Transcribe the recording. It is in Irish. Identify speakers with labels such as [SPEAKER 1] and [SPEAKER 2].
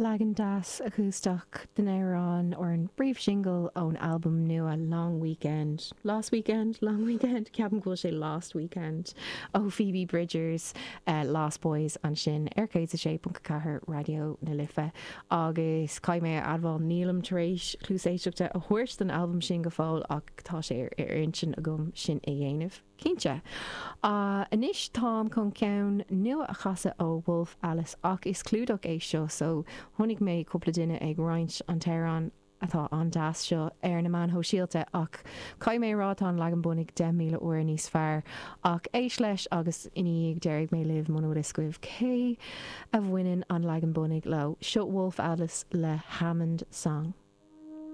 [SPEAKER 1] Leagan deas acústach den amhrán ar an bpríomhshingil ón albam nua Long Weekend, Lost Weekend? Long Weekend? Ceapaim go bhfuil sé Lost Weekend, ó Phoebe Bridgers, Lost Boys ansin ar 106.4 Raidió na Life. Agus caithfidh mé a admháil nílim tar éis cluas éisteachta a thabhairt don albam sin go fóill ach tá sé ar intinn agam sin a dhéanamh. Cinnte. Anois táim chun ceann nua a chasadh ó Wolf Alice ach is clúdach é seo so chonaic mé cúpla duine ag roinnt an t-amhrán atá an-deas seo ar na meáin shóisialta ach caithfidh mé a rá tá an leagan bunaidh 10,000 uair níos fearr ach éist leis agus ina dhiaidh déarfaidh mé libh muna bhfuil fhios agaibh cé a bhaineann an leagan bunaidh leo. Seo Wolf Alice le Hammond Song.